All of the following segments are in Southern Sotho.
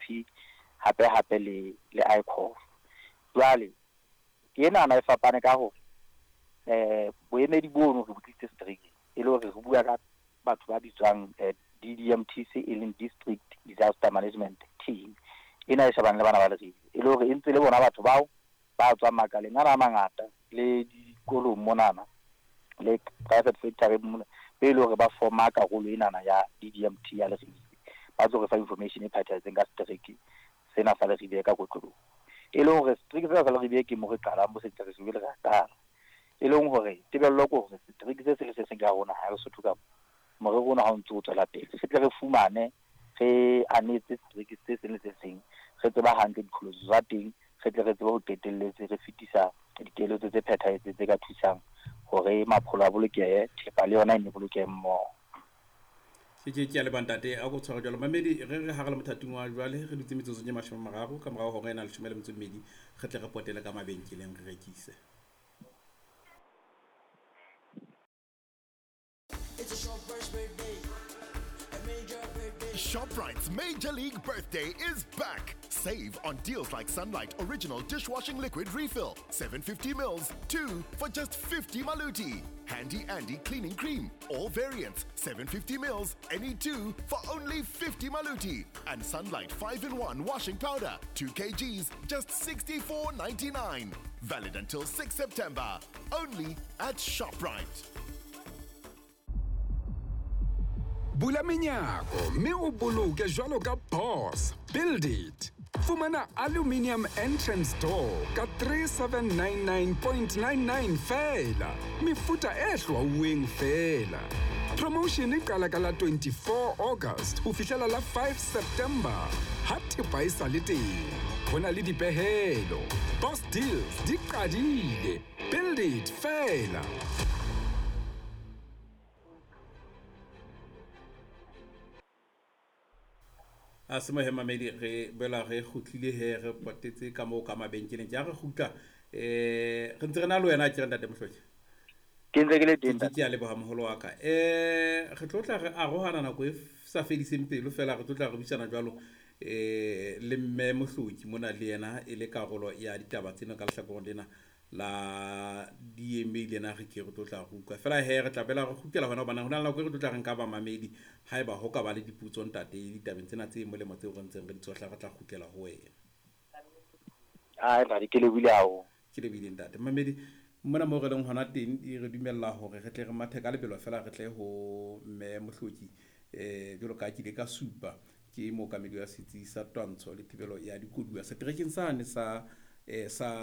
UNDP hape hape le ICOF. Jwale ke enana e fapane ka hore boemedi bono re botlisitse seterekeng e le hore re bua ka batho ba bitswang DDMTC e leng District Disaster Management Team ena e shebang le bana ba Leribe, e le hore e ntse le bona batho bao ba tswang makaleng ana a mangata le dikolong monana le private sector mona, be le hore ba forma karolo enana ya DDMT ya Leribe, ba tlo re fa information e phethahetseng ka setereke sena sa Leribe ka kotloloho. E le hore setereke sena sa Leribe ke mo re qalang bo setereke le re qala, e leng hore tebello ke hore setereke se se le se seng ka rona ha re Sotho ka morero ona ha o ntse o tswela pele, re tle re fumane re anetse setereke se seng le se seng, re tseba hantle diqholotso tsa teng, re tle re tsebe ho qetelletse re fetisa dikeletso tse phethahetseng tse ka thusang hore mapholo a bolokehe, thepa le yona e ne bolokehe mmoho. Ke a leboha ntate, a ko tshware jwalo. Mamedi, re hara le mothating wa jwale, re dutse metsotsong e 30 ka morao hora ena 12, re tle re potele ka mabenkeleng re rekise. It's a shopper's birthday. A major birthday. ShopRite's Major League Birthday is back. Save on deals like Sunlight Original Dishwashing Liquid Refill, 750 mils, 2 for just 50 maluti. Handy Andy Cleaning Cream, all variants, 750 mils, any 2 for only 50 maluti. And Sunlight 5-in-1 Washing Powder, 2 kgs, just 64.99. Valid until 6 September. Only at ShopRite. Bula menyako mme o boloke jwalo ka boss. Build it. Fumana aluminium entrance door ka 3799.99 feela. Mefuta e hlwauweng feela. Promotion e qala ka la 24 August ho fihlela la 5 September. Ha thepa e sa le teng, ho na le dipehelo. Boss deals di qadile. Build it feela. A se mohe mamedi, re boela re kgutlile he, re potetse ka moo ka mabenkeleng. Ke a re kgutla, re ntse re na le wena, ke re ntate Mohloki? Ke ntse ke le teng. Ke a leboha moholo wa ka. Re tlo tla re arohana nako e sa fediseng pelo fela, re tlo tla re buisana jwalo le mme Mohloki mona le yena e le karolo ya ditaba tsena ka lehlakoreng lena la DMA lena re ke re tlo tla re utlwa. Fela he re tla bela re kgutlela hona hobane hona le nako e re tlo tla re nka ba mamedi haeba ho ka ba le dipotso ntate ditabeng tsena tse molemo tseo re ntseng re di tshohla, re tla kgutlela ho wena. Ai ntate, ke lebohile haholo. Ke lebohile ntate. Mamedi, mona moo re leng hona teng e re dumella hore re tle re mathe ka lebelo fela re tle ho mme Mohloki, jwalo ka ke ile ka supa ke mookamedi wa setsi sa twantsho le thibelo ya dikoduwa seterekeng sane sa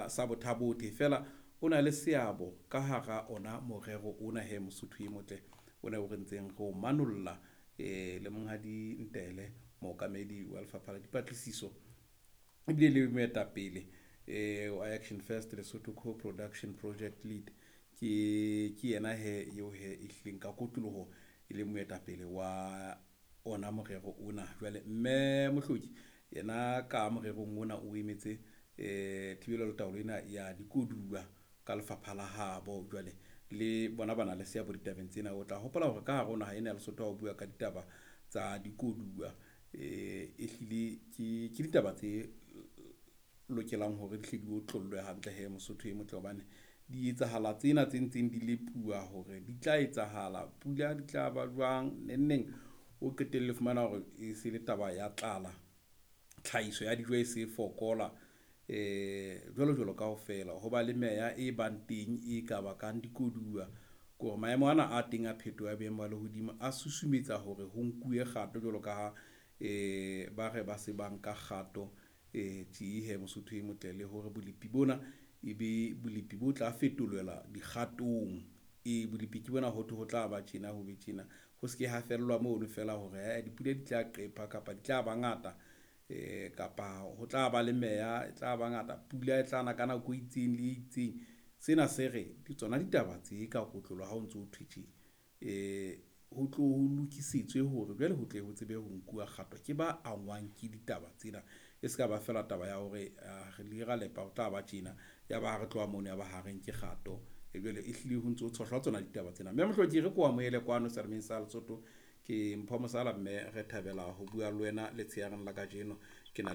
sa Botha-Bothe. Fela o na le seabo ka hara ona morero ona he Mosotho e motle o ne o re ntseng re o manolla, le monghadi Ntele mookamedi wa lefapha la dipatlisiso ebile le moetapele wa Action First Lesotho Co-Production Project Lead. Ke yena he eo he e hlileng ka kotloloho e le moetapele wa ona morero ona. Jwale mme Mohloki yena ka morerong ona o emetse thibelo le taolo ena ya dikoduwa ka lefapha la habo. Jwale le bona ba na le seabo ditabeng tsena. O tla hopola hore ka hare ho naha ena ya Lesotho ha o bua ka ditaba tsa dikoduwa, e hlile ke ditaba tse lokelang hore di hle di otlollwe hantle he Mosotho e motle, hobane di etsahala tsena tse ntseng di lepuwa hore di tla etsahala, pula di tla ba jwang neng neng, o qetelle fumana hore e se le taba ya tlala, tlhahiso ya dijo e se fokola, jwalo jwalo kaofela. Ho ba le meya e bang teng e ka bakang dikoduwa, ke hore maemo ana a teng a phetoho ya boemo ba lehodimo a susumetsa hore ho nkuwe kgato jwalo ka ha ba re ba se ba nka kgato tje he Mosotho e motle, le hore bolepi bona e be bolepi bo tla fetolelwa dikgatong. Bolepi ke bona ho thwe ho tla ba tjena, ho be tjena, ho se ke ha fellwa mono fela hore dipula di tla qepha kapa di tla ba ngata, kapa ho tla ba le meya e tla ba ngata, pula e tla na ka nako e itseng le e itseng. Sena se re ke tsona ditaba tse ka kotlolo ha o ntso o thwe tje, ho tlo ho lokisitswe hore jwale ho tle ho tsebe ho nkuwa kgato ke ba angwang ke ditaba tsena. E se ka ba fela taba ya hore re le ra lepa ho tla ba tjena, ya ba ha re tloha mono ya ba ha re nke kgato. Jwale e hlile ho ntso tshohlwa tsona ditaba tsena. Mme Mohloki re ko amohele kwano selemeng sa Lesotho, ke Mpho Mosala, mme re thabela ho bua le wena letsheareng la kajeno. Ke na